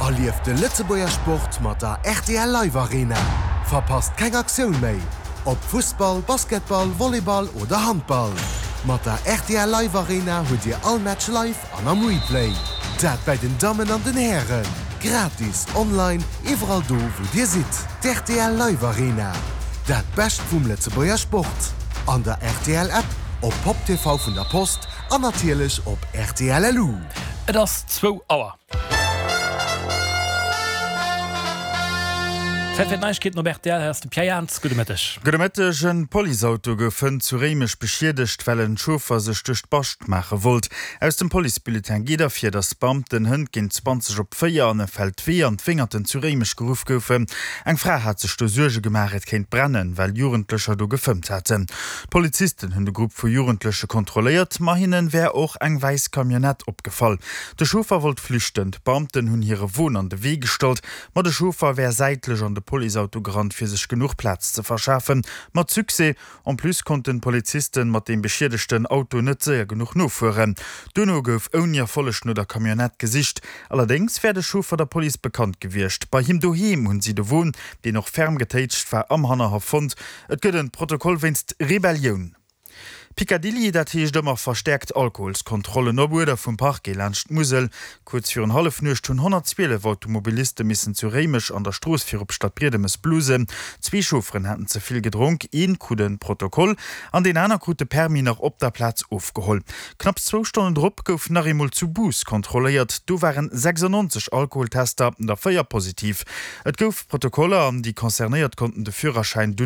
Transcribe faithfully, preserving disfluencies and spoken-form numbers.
Erlieft de Lëtzebuerger Sport mat der rtl Live Arena. Verpasst keng Aktioun méi! Ob Fussball, Basketball, Volleyball oder Handball. Mat der rtl Live Arena hutt Dir all Match live an am Replay. Dat bei den Dammen an den Hären. Gratis, online, iwwerall do wou Dir sidd. D'rtl Live Arena. Dat Bescht vum Lëtzebuerger Sport. An der rtl App, op Pop TV vun der Post an natierlech op rtl LU. Et ass zwou Auer. Zäit fir d'Neiegkeeten op rtl. Hei ass de Pierre Jans. Gudde Mëtteg. Gudde Mëtteg. En Policeauto gouf hënt zu Réimech beschiedegt, well en Chauffer sech duerch d'Bascht maache wollt. Aus dem Policebulletin geet ervir, datt d'Beamten hënt géint zwanzeg op véier an e Feldwee an d'Wéngerten zu Réimech geruff goufen. Eng Fra hat sech do Suerge gemaach, et kéint brennen, well Jugendlecher do gefëmmt haten. D'Polizisten hunn de Grupp vu Jugendleche kontrolléiert, ma hinne wär och eng wäiss Camionnette opgefall. De Chauffer wollt flüchten, d'Beamten hunn hire Won an de Wee gestallt, ma de Chauffer wär säitlech an de Policeauto gerannt, fir sech genuch Plaz ze verschafen. Mat Succès. En plus konnten d'Polizisten mat deem beschiedegten Auto net séier genuch nofueren. Duerno gouf ouni Erfolleg no der Camionnette gesicht. Allerdéngs wär de Chauffer der Police bekannt gewiescht. Bei him doheem hunn si de Won, deen och ferm getéitscht war, am Hannerhaff fonnt. Et gëtt en Protokoll wéinst Rebellioun. Picadilly, dat heescht ëmmer verstäerkt Alkoholskontrollen op Uerder vum Parquet laanscht d'Musel. Kuerz virun Hallefnuecht hunn honnertzwielef Automobiliste missen zu Réimech an der Strooss virop Stadbriedemes blusen. Zwee Chaufferen haten ze vill gedronk, een krut e Protokoll an deen aner krut de Permis nach op der Plaz ofgeholl. Knapps zwou Stonnen drop gouf nach eemol zu Bous kontrolléiert, do waren sechsundneunzeg Alkoholtester, der véier positiv. Et gouf Protokoller an déi Concernéiert konnten de Führerschäin dunn